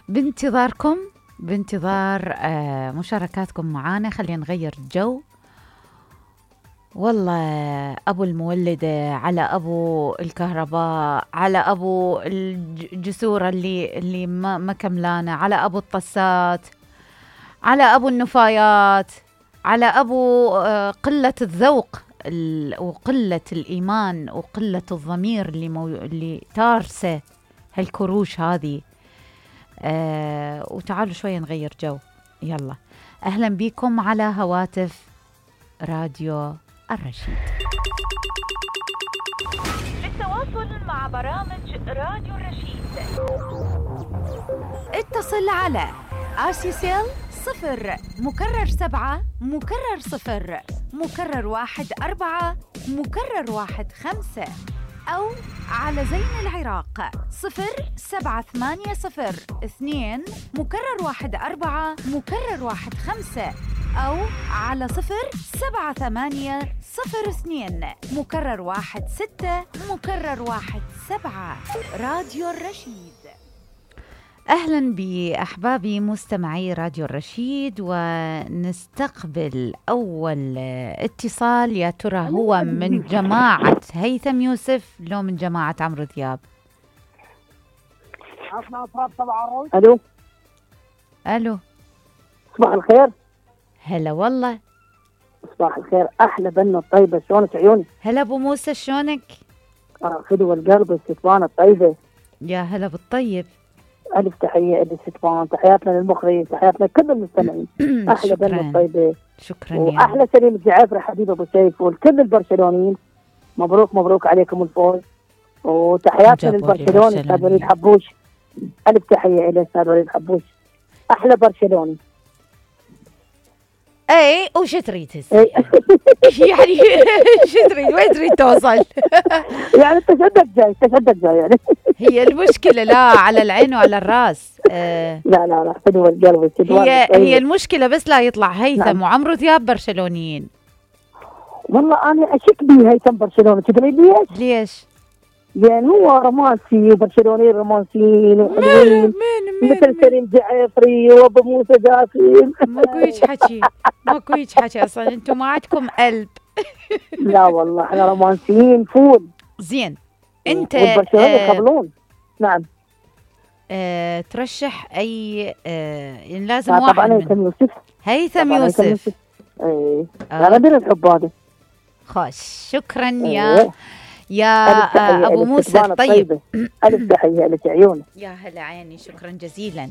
بانتظاركم، بانتظار مشاركاتكم معانا. خلينا نغير الجو. والله أبو المولدة، على أبو الكهرباء، على أبو الجسور اللي ما كملانة، على أبو الطسات، على أبو النفايات، على أبو قلة الذوق وقلة الإيمان وقلة الضمير اللي تارسه هالكروش هذه. وتعالوا شوية نغير جو. يلا، أهلا بكم على هواتف راديو الرشيد. للتواصل مع برامج راديو الرشيد اتصل على آسيسيل 0 مكرر 7 مكرر 0 مكرر 1 4 مكرر 1 5 أو على زين العراق 0780 2 مكرر 1 4 مكرر 1 5 أو على 0780 02 مكرر 1 6 مكرر 1 7. راديو الرشيد. أهلا بأحبابي مستمعي راديو الرشيد، ونستقبل أول اتصال. يا ترى هو من جماعة هيثم يوسف لو من جماعة عمرو دياب؟ ألو ألو، صباح الخير. هلا والله. صباح الخير، أحلى بنة الطيبة، شلونك عيوني؟ هلا أبو موسى، شلونك؟ خدوة القلب الستوانة الطيبة. يا هلا بالطيب. ألف تحية للستوان، تحياتنا للمخرج، تحياتنا لكل المستمعين. أحلى بنة الطيبة. شكرا. وأحلى سليم الجعافري حبيب أبو سيف والكل البرشلونيين. مبروك مبروك عليكم الفوز، وتحياتنا للبرشلوني أستاذ وليد حبوش. ألف تحية إلى أستاذ وليد حبوش، أحلى برشلوني. اي وش تريد يعني شو تريد؟ وين تريد توصل؟ يعني تشدد جاي يعني. هي المشكلة لا على العين وعلى الراس. لا حلوة القلب. هي المشكلة بس لا يطلع هيثم نعم. وعمرو دياب برشلونيين. والله أنا أشك بيه هيثم برشلوني. تدري ليش؟ يعني هو رومانسي وبرشلوني رومانسيين وحلوين مثل سليم جعفري وابو موسى داخل. ماكو هيج حكي اصلا، انتم ما عندكم قلب. لا والله احنا رومانسيين فول. زين انت والبرشلوني يقبلون. نعم. ترشح اي لازم واحد طبعا هيثم يوسف. هيثم يوسف. اي انا بدي الحب هذا. خوش، شكرا يا أبو موسى. طيب، ألف تحية لك عيوني. يا هلا عيني، شكرا جزيلا.